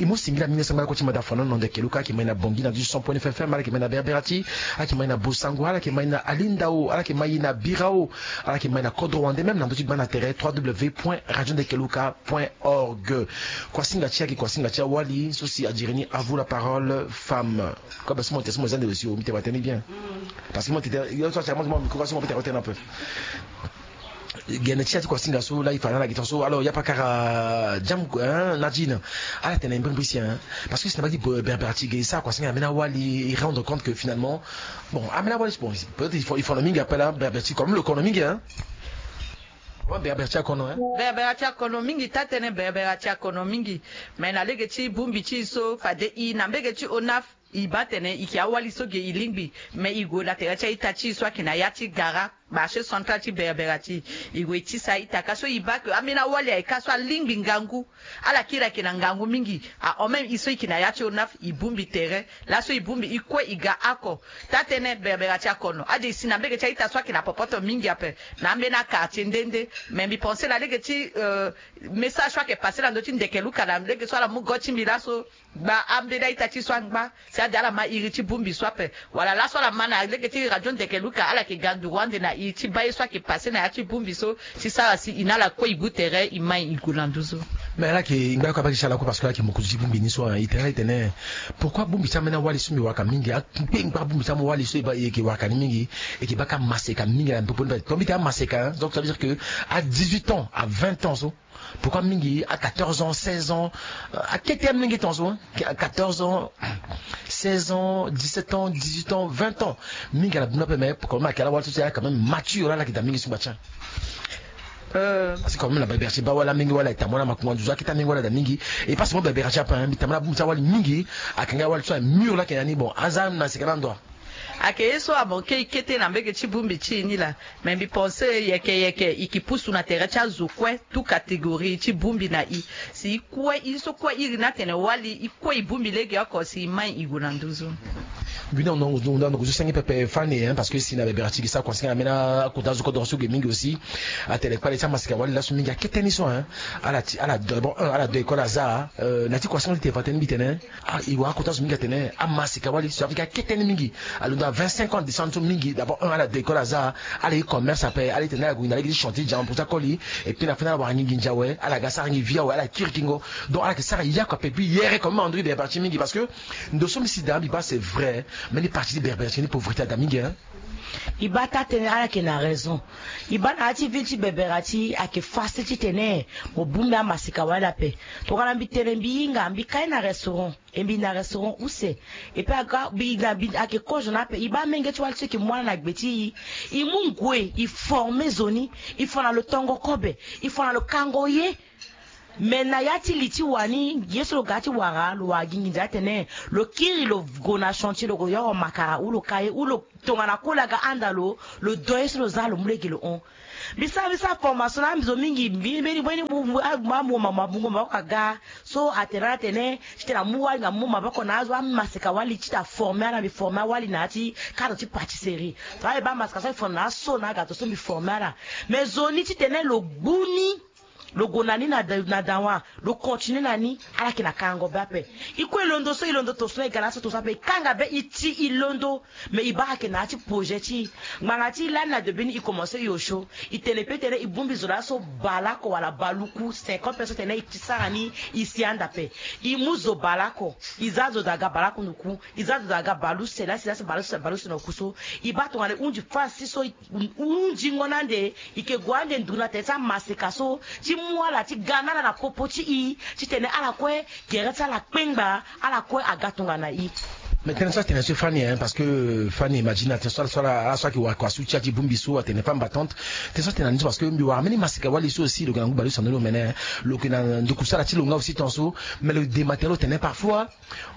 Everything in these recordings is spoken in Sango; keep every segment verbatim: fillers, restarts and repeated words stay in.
E mu singila mingi na sango ala kue ti mada fano na ndo keluka, ala yeke mai na Bongi na deux cent point neuf F M, ala yeke mai na Berbera ti, ala yeke mai na Bosango, ala yeke mai na Alindao, ala yeke mai na Birao, ala yeke mai na Kodro Wande, même na ndo ti gba na tere trois W point radio ndekeluka point org. Kuasinga ti e ayeke kuasinga ti awali so si a diri ni, à vous la parole femme. Kobe so mo tene so mo za nde lo si o, mbi tene watene ni bien. Parce que mo tene yo so atira mo mo micro so mo peut tene watene un peu. Gene ti ya ti kuasinga so la e fa na ala gi tongaso. Alors ya pakara jam, hein, Nadine. Ala tene mbrimbri si, hein. Parce que si na mbage ti Berbera ti ge e sara kuasinga na ambeni awali, e rendre compte que finalement, bon, ambeni awali, bon, peut-être il faut, il faut na mingi appel, hein, Berbera ti comme le kono mingi, hein. Ouais, Berbera ti akono, hein. Berbera ti akono mingi, taa tënë Berbera ti akono mingi. Me na lege ti bongbi ti e so fade e na mbage ti onaf, e baa tene e yeke awali so ge e lingbi. Me e gue na tere ti a-ita ti e so ayeke na ya ti gara, marché central ti Berbera ti e, e gue e tisa a-ita ka so e baa ke ambeni awali ayeke ka so alingbi ngangu. Ala kiri ayeke na ngangu mingi. Ahon même e so e yeke na ya ti onaf, e bongbi tere. Laso e bongbi e kue e ga oko. Taa tënë Berbera ti akono. Ade e si na mbage ti a-ita so ayeke na popoto mingi ape, na ambeni a-quartier nde nde. Me mbi pense na lege ti, euh, message so ayeke passe na ndö ti ndeke luka na lege so ala mu go ti mbi laso. Gba ambeni a-ita ti so angba si ade ala ma iri ti bongbi so ape. Wala laso ala ma na lege ti radio ndeke luka, ala yeke ga nduru ande na e ti baa ye so ayeke passe na ya ti bongbi so, ti sara si e na ala kue e bu tere e mai e gue na nduzu. Mais ala yeke ngba oko abaa gi ti ala kue parce que ala yeke mokonzi ti bongbi ni so, hein. E tene ala e tene pourquoi bongbi ti ambeni awali so mbi waka mingi, akpengba bongbi ti ambeni awali so e baa e yeke waka ni mingi, e yeke baa ka maseka mingi na popo ni. Tonga mbi tene amaseka, hein, donc ça veut dire que à dix-huit ans, à vingt ans so, pourquoi mingi à quatorze ans, seize ans, euh, akete ya mingi tongaso, hein, à quatorze ans, seize ans, dix-sept ans, dix-huit ans, vingt ans. Mingi ala duna ape, mais quand même ayeke ala wali so si ala quand même mature, ala yeke daa mingi so ngba ti. Euh. Parce que quand même na Berbera ti e baa wala mingi, wala e tambula makongo nduzu, akete mingi wala daa mingi. E pas seulement Berbera ti e ape, hein, mbi tambula bongbi ti awali mingi, ayeke nga awali so aye mur la ayeke na ni, bon, aza na sika na ndo. Ayeke ye so amanke e kete na mbage ti bongbi ti e ni laa. Me mbi pense yeke yeke e yeke pusu na tere ti azo kue, tout catégorie ti bongbi na e. Si e kue, e so kue iri ni atene wali, e kue e bongbi legeoko si e mai e gue na nduzu. Mbi na, na, na, na, na, na, senge pepe Fani, hein, parce que si na Berbera ti e ge sara kuasinga na ambeni akota azo kodro so ge mingi aussi. Atene kpale ti amaseka wali laso mingi akete ni so, hein. Ala ti, ala do, bon, un, ala do école aza, euh, na ti kuasinga ti tene fa tënë mbi tene. Ah, e wara akota zo mingi atene amaseka wali so Afrika akete ni mingi. Alondo na vingt-cinq ans descendre so mingi. D'abord un, ala de école aza, ala ye commerce ape, ala ye tene ala gue na lege ti chantier diamant pour ti akoli. Et puis na fin ala wara nginza awe, ala ga sara nginza awe, ala kiri kingo. Donc ala yeke sara yaku ape, puis yere comme André Berbera ti mingi, parce que ndo so mbi si daa mbi baa c'est vrai. Mbeni parti ti Berbera ti ni pauvreté ada mingi, hein. E baa taa tënë ala yeke na raison. E baa na ya ti ville ti Berbera ti ayeke facile titene mo bongbi amaseka wali ape. Tongana mbi tene mbi hinga mbi kai na restaurant. E mbi na restaurant use. E pe aga mbi na mbi ayeke kozo na ape. E baa amenge ti wali so e yeke mu ala na gbe ti e. E mu ngoi, e forme zo ni, e fa na lo tongo kobe, e fa na lo kango ye. Me na ya ti li ti wani, ye so lo ga ti wara, lo wara gi nginza atene lo kiri lo gue na chantier, lo gue yoro makara ou lo ka ye ou lo tongana koli aga anda lo, lo do ye so lo za lo mu lege lo hon. Mbi sara mbi sara formation na ambi zo mingi, mbi mbeni mbeni mu mu amu mama bungo maboko aga. So atene ala tene titene amu wali nga mu maboko na azo amaseka wali titene aforme ala. Mbi forme awali na ya ti cadre ti pâtisserie. Tongana e baa maseka so e forme na aso na agato so mbi forme ala. Mais zo ni titene lo gbu ni, lo gue na ni na da- na dawa, lo continue na ni, ala yeke na kango be ape. E kue e londo so, e londo toso na e ga laso toso ape, e kanga be, e ti e londo. Mais e baa ayeke na ya ti projet ti e. Ngbanga ti lani na debut ni e commence e osio. E tene pe tene e bongbi zo laso baleoko wala baluku, cinquante personnes tene e ti sara ni, e si anda ape. E mu zo baleoko, e za zo daa ga baleoko na oku, e za zo daa ga baluse, lasi lasi baluse, baluse na oku so. E baa tongana e hunzi fasse so, e hunzingo na ande, e yeke gue ande nduru na tere ti amaseka so, ti mu ala, ti ga na ala na popo ti e, titene ala kue gere ti ala kpengba, ala kue aga tongana e. Mais tënë so atene so e Fani, hein, parce que Fani imagine atene so ala so ala ala so ayeke wara kua so ti ya ti bongbi so atene femme battante. Tënë so atene na ni so parce que mbi wara mbeni maseka wali so aussi lo yeke na ngu baleuse na ni lo mene, hein. Lo yeke na ndoku so ala ti lo nga aussi tongaso. Mais lo dema tene lo tene parfois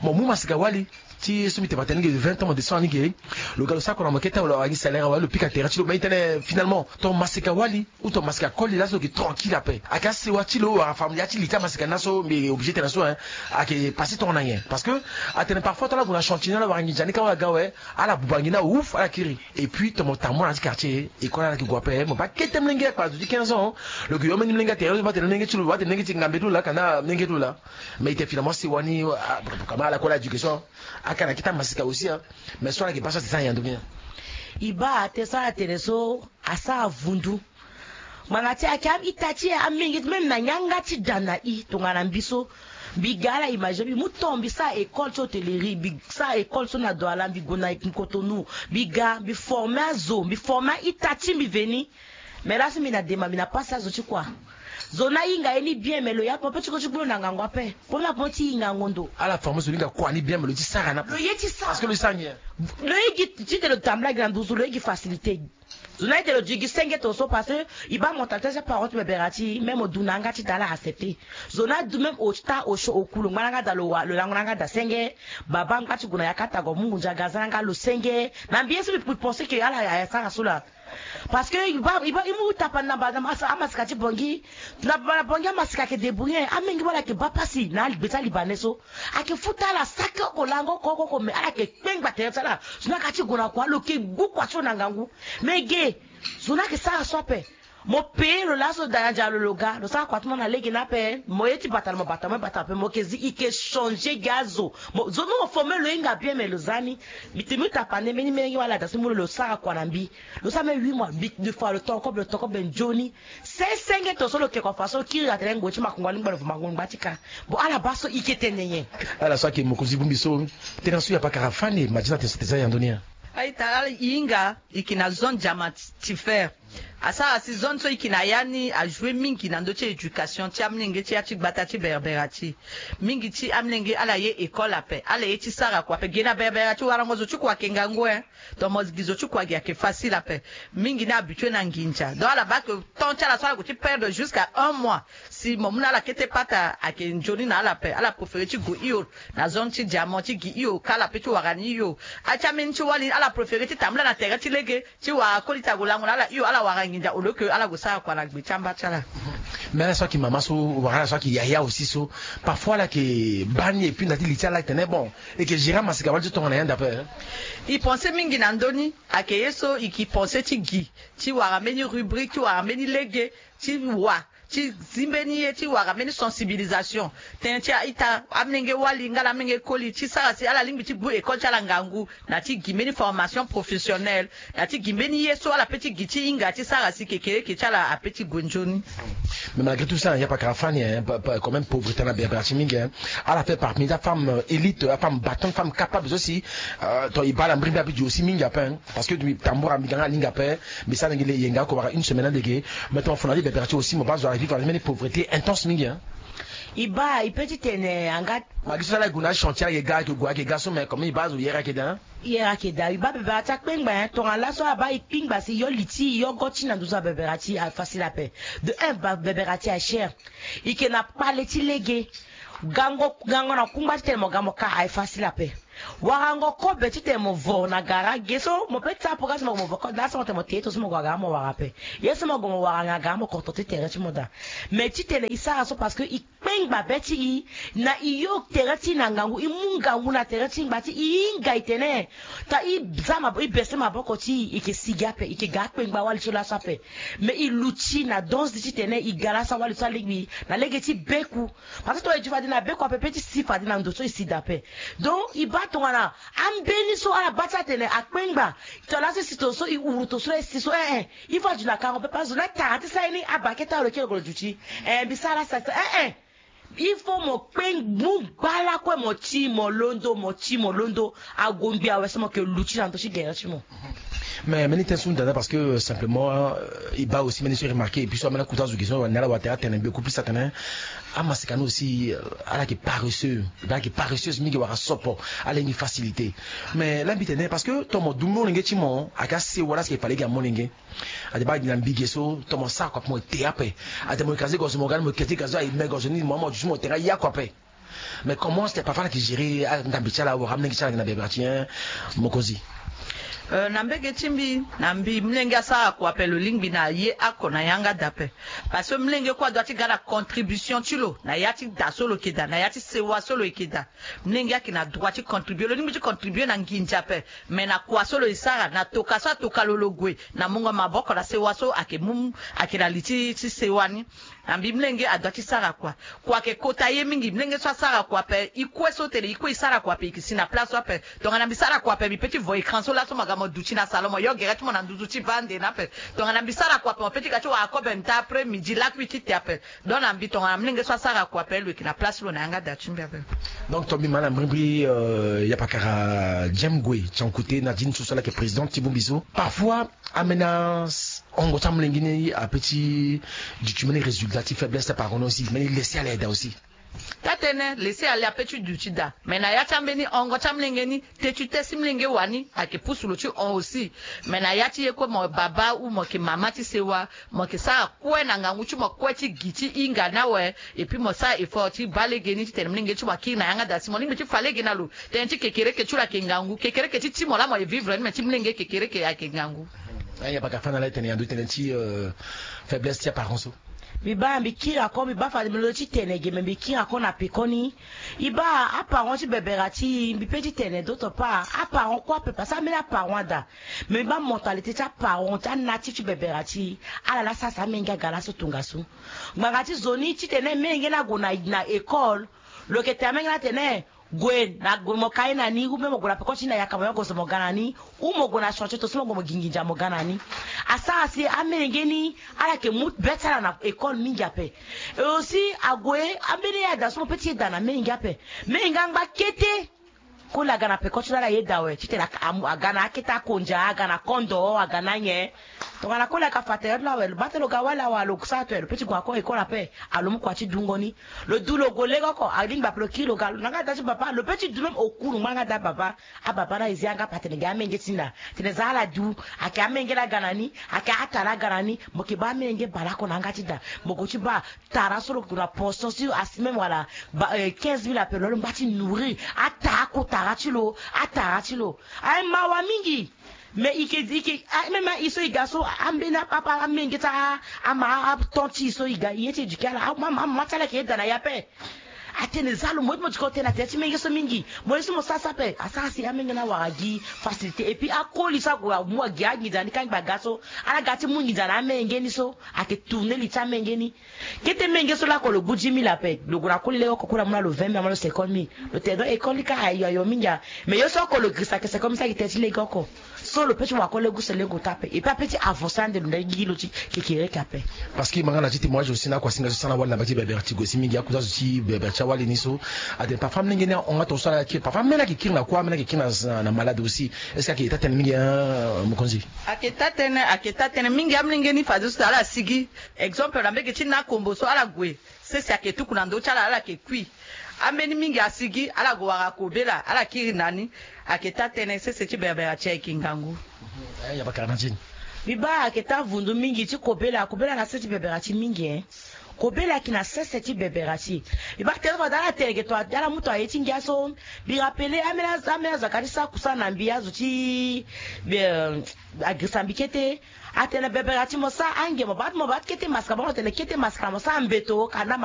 mo mu maseka wali. Ti so mbi tene tene ni ge vingt ans mo descend ni ge. Lo ga lo sara kua na mo kete wala awa gi salaire awa lo pika terrain ti lo mais i tene finalement ton masika wali ou ton masika koli laso lo ke tranquille ape. Ake asewa ti lo wala famille ti li ti amasika ni laso mbi obligé tene so hein. Ake passer ton na nyen parce que atene parfois ton ala gue na chantier ni ala wara nginza ni ka wala ga awe. Ala buba ngi ni aouf ala kiri. Et puis ton mo tambula na ti quartier école ala ke gue ape mo baa kete molenge akpara zo ti quinze ans. Lo ke yo mbeni molenge atere lo baa tene molenge ti lo baa tene molenge ti ngambe ti lo laa ka na molenge ti lo laa. Mais i tene finalement sewa ni. Kama ala kue ala éducation. Aka na kete amasika aussi hein. Mais so ala ke baa so ate sara yando ni. I baa ate so ala tene so asara vundu. Ngbanga ti ake ita ti amenge ti même na yanga ti da na i tongana mbi so. Mbi ga ala image mbi mu ton mbi sara école ti hôtellerie mbi sara école so na Douala mbi gue na Cotonou. Mbi ga mbi former azo mbi former aita ti mbi veni. Mais laso mbi na dema mbi na pasi azo ti kua. Zo ni ahinga ye ni bien mais lo ya popo ti ko ti gbu lo na ngangu ape. Pona popo ti hingango ndo. Ala former zo ni hinga kua ni bien mais lo ti sara na lo ye ti sara parce que lo ti sara nyen? Lo ye gi ti tene lo tambula gi na nduzu lo ye gi facilité. Zo ni aye tene lo di gi senge tongaso parce que i baa mentalité ti aparent ti bebera ti i même o du na yanga ti da ala accepter. Zo ni adu même ota osio oku lo ngba na yanga da lo wa lo lango na yanga da senge. Baba ngba ti gue na yaka tago mungu ndia ga aza na yanga lo senge. Na mbi ye so mbi pense ke ala ayasara so laa. Parce que i baa i baa i mu tapani na baa na amasika ti bongi. Na baa na bongi amasika ayeke débrouiller amenge wala ayeke baa pasi na agbe ti alibanais so. Ayeke futa ala saki oko lango oko oko oko mais ala yeke kpengba tere ti ala. Zo ni ayeke ti gue na kua lo yeke gbu kua ti lo na ngangu. Mais ge zo ni ayeke sara so ape. Mo payer lo laso da na dia lo lo ga lo sara kua ti mo na lege ni ape mo ye ti bata na mo bata mo ye bata ape mo yeke zi i yeke changer gi azo. Zo ni mo former lo hinga bien mais lo za ni. Mbi tene mbi tapande mbeni mbeni wala da so mu lo lo sara kua na mbi. Lo sara même huit mois mbi de fois lo toko be lo toko be nzoni. Sesenge to so lo ke kua fa so kiri atene ngoi ti makongo alingba lo vo makongo ngba ti ka. Bon ala baa so i ke tene nyen? Ala so ayeke mokonzi bongbi so. Tena so ya pakara fani madina tena so teza yando ni ya. Aita ala i hinga i ke na zone diamant ti fer. Asara si zone so i ke na ya ni ajoue mingi na ndö ti éducation ti amolenge ti ya ti gbata ti berbera ti. Mingi ti amolenge ala ye école ape ala ye ti sara kua ape ge na berbera ti warango zo ti kua ayeke ngangu e. Donc mo gi zo ti kua gi ayeke facile ape. Mingi ni ahabitue na nginza donc ala baa ke temps ti ala so ala gue ti perdre jusqu'à un mois. Si mo mu na ala kete pata ayeke nzoni na ala ape ala préféré ti gue hio na zone ti diamant ti gi hio ka ala pe ti wara ni hio. Ati ambeni ti wali ala préféré ti tambula na tere ti lege ti wara koli ti ague lango na ala hio ala wara nginza au lieu ke ala gue sara kua na gbe ti amba ti ala. Mais ala so ayeke mama so wala ala so ayeke yaya aussi so parfois ala yeke baa ni et puis na ti li ti ala ayeke tene bon. E yeke gérer amasika wali ti tongana yande ape. I pense mingi na ndö ni. Ayeke ye so i ke pense ti gi ti wara mbeni rubrique ti wara mbeni lege ti wa ti zi mbeni ye ti wara mbeni sensibilisation. Tënë ti a-ita amolenge wali nga na amolenge koli ti sara si ala lingbi ti gbu école ti ala ngangu na ti gi mbeni formation professionnelle. Na ti gi mbeni ye so ala pe ti gi ti hinga ti sara si kekereke ti ala ape ti gue nzoni. Mais malgré tout ça ya pakara fani hein, quand même pauvreté na berbera ti mingi hein. Ala fait parmi ta femme élite ta femme battante femme capable so si. To e baa ala mbiri mbi abi di aussi mingi ape hein. Parce que mbi tambura mbi ga nga alingi ape. Mbi sara lenge le yenga oko wara une semaine alege. Mais tongana fo na li berbera ti aussi mo baa zo ala vivre na ti mbeni pauvreté intense mingi hein. E baa e pe ti tene anga. Magi so ala e gue na achantier ala yeke ga ayeke gue ayeke ga so mais comme e baa azo yere ayeke daa. Yere ayeke daa e baa bebera ti akpengba hein tongana laso abaa e kpingba si yo li ti yo go ti na nduzu abebera ti afacile ape. De un bebera ti acher. E yeke na kpale ti lege. Gango gango na kungba ti tene mo ga mo ka aye facile ape. Warango kobe ti tene mo vo na gara ge so mo pe ti sara programme so mo gue mo vo kobe na so mo tene mo te ye to so mo gue na gara mo wara ape. Ye so mo gue mo wara na gara mo koto ti tere ti mo daa. Mais ti tene e sara so parce que e kpengba be ti e. Na e yo tere ti e na ngangu e mu ngangu na tere ti e ngba ti e hinga e tene. Ta e za maboko e bese maboko ti e e ke sigi ape e ke ga akpengba wali ti lo laso ape. Mais e luti na donze ti tene e ga laso awali so alingbi na lege ti beku. Parce que tongana e di fade na beku ape pe ti si fade na ndo so e si daa ape. Donc e baa tongana ambeni so ala baa ti atene akpengba. Tongana laso e si tongaso e huru tongaso e si so eh eh. Il faut aduti na karango pepe azo ni atara ti sara ye ni abaa kete alo kiri lo duti. Eh mbi sara ala sara ti sara eh eh. Il faut mo kpe mu gbala kue mo ti mo londo mo ti mo londo. Ague ngbi awe so mo yeke luti na ndö ti gere ti mo. Mais mbeni tënë so hunda ni parce que simplement e baa aussi mbeni so e remarquer et puis so ambeni akuta azo gi so ni ala wara tere atene mbi oku plus atene. Amasika ni aussi ala yeke paresseux. E baa ala yeke paresseuse mingi wala sopo. Ala lingbi facilité. Mais laa mbi tene parce que ton mo du molenge ti mo ayeke asewa laa si ayeke fa lege ya molenge. Ate baa gi na mbi ge so ton mo sara kua pe mo te ape. Ate mo écraser gorge mo ga ni mo kete gazo aye me gorge ni mo ama mo duti mo te nga ya kua pe. Mais comment c'est parfois na ki gérer ah, ndambi ti ala wara mlenge ti ala na bebera ti hein mokonzi. Euh, na mbege ti mbi na mbi mlenge asara kua ape lo lingbi na ye ako na yanga da ape. Parce que mlenge kue adoit ti ga na contribution ti lo na ya ti da so lo yeke da na ya ti sewa so lo yeke da. Mlenge ayeke na droit ti contribuer lo lingbi ti contribuer na nginza ape. Mais na kua so lo ye sara na toka so atoka lo lo gue na mungo maboko na sewa so ayeke mu ayeke na li ti ti sewa ni. Na mbi mlenge adoit ti sara kua. Kua ayeke kota ye mingi mlenge so asara kua ape e kue so tene e kue e sara kua ape e yeke si na place so ape. Tongana mbi sara kua ape mbi pe ti vo écran so laso mo ga mo duti na salon mo yo gere ti mo na nduzu ti baa ande ni ape. Tongana mbi sara kua ape mo pe ti ga ti wara kobe nta après midi lakui ti te ape. Donc na mbi tongana mlenge so asara kua ape lo yeke na place ti lo na yanga da ti mbi ape. Donc to mbi ma na mbrimbri yapakara jem gue ti ankute na dini so so ala yeke présidente ti bongbi so parfois ambeni ahongo ti amolenge ni ape ti duti mbeni résultat ti faiblesse ti aparent ni aussi mbeni lesi ala aye daa aussi. Tatene lesi ala ape ti duti daa. Mais na ya ti ambeni hongo ti amolenge ni te ti te si molenge wani ayeke pusu lo ti hon aussi. Mais na ya ti ye kue mo baba ou mo yeke mama ti sewa mo yeke sara kue na ngangu ti mo kue ti gi ti hinga ni awe. Et puis mo sara effort ti baa lege ni titene molenge ti mo akiri na yanga daa si mo lingbi ti fa lege na lo. Tënë ti kekereke ti lo ayeke ngangu kekereke ti ti mo laa mo ye vivre ni me ti molenge kekereke ayeke ngangu. Aya baka fa na la e tene yando e tene ti faiblesse ti aparent so. Mbi baa mbi kiri ako mbi baa fade mbi lo ti tene ge me mbi kiri ako na peko ni. E baa aparent ti bebera ti e mbi pe ti tene d'autre part aparent kue ape parce que ambeni aparent ada. Me mbi baa mentalité ti aparent ti anature ti bebera ti e. Ala laa sara si amenge aga laso tongaso. Ngbanga ti zo ni titene menge ni ague na école. Lo yeke tene amenge ni atene gue na gue mo ka ye na ni ou bien mo gue na peko ti ni na yaka mo yo gozo mo ga na ni. Ou mo gue na chantier to so mo gue mo gi nginza mo ga na ni. Asara si amenge ni ala yeke mu be ti ala na école mingi ape. Et aussi ague ambeni ye ada so mo pe ti ye daa na menge ape. Menge angba kete. Koli aga na peko ti lo ala ye daa awe titene aga na akete akondia aga na kondo aga na nyen. Tongana koli aga fa tere ti lo awe lo baa tene lo ga wali awe lo sara to aye lo pe ti gue na ko école ape. Alo mu kua ti dungo ni. Lo du lo gue lege oko alingbi ape lo kiri lo ga na nga da ti baba lo pe ti du même okuru ngbanga da baba. Ababa na e zi yanga ape atene ge amenge ti nda. Tene za ala du. Ayeke amenge ni aga na ni. Ayeke atara aga na ni. Mo yeke baa amenge baleoko na yanga ti da. Mo gue ti baa tara so lo gue na portion si asi même wala quinze mille ape lo lo ngba ti nourrir. Atara kotara ti lo. Atara ti lo. Aye mawa mingi. Mais e ke e ke même aye so e ga so ambeni apapa amenge ti ama aton ti e so e ga e ye ti éduquer ala. Amama ti ala ayeke ye daa na e ape. Atene za lo mo ye ti mo diko tene na tere ti menge so mingi. Mo ye so mo sara so ape asara si amenge ni awara gi facilité et puis akoli so ague amu agi anginza ni kangba ga so. Ala ga ti mu nginza na amenge ni so ayeke tourner li ti amenge ni. Kete menge so lako lo gbu dix mille ape lo gue na koli lege oko koli amu na lo vingt mille amu na lo cinquante mille. Lo tene donc école ni kâ ayo ayo mingi a. Mais ye so oko lo girisa ayeke cinquante mille so ayeke tene ti lege oko. So lo pe ti wara koli lege use lege ota ape et puis ape ti avancer ande lo ndali gi lo ti kekereke ape. Parce que e ma nga na ti témoignage aussi na akuasinga so e sara na wali na mbage ti bebere ti gue si mingi akuta zo ti bebere ti awali ni so. Atene parfois amolenge ni ahon nga tongaso ala kiri parfois ameni ayeke kiri na kuâ ameni ayeke kiri na malade aussi. Est ce que ayeke taa tënë mingi hein mokonzi? Ayeke taa tënë ayeke taa tënë mingi amolenge ni fadeso ala sigi. Exemple na mbege ti na kombo so ala gue. Sese ayeke tuku na ndö ti ala ala yeke kui. Ambeni mingi asigi ala gue wara kobela ala kiri na ni. Ayeke taa tënë sese ti bebere ti ayeke ngangu. Mbi baa ayeke taa vundu mingi ti kobela kobela na sese ti bebere ti mingi e. Kobela ayeke na sese ti bebere ti e. Mbi baa tere fade ala tene ge to ala mu to aye ti ngia so. Mbi rapele ameni azo aka ti sara kusana na mbi azo ti agirisa mbi kete. Atene bebere ti mo sara ange mo baa ti mo baa ti kete maskara baa mo tene kete maskara mo sara mbeto ka na ma.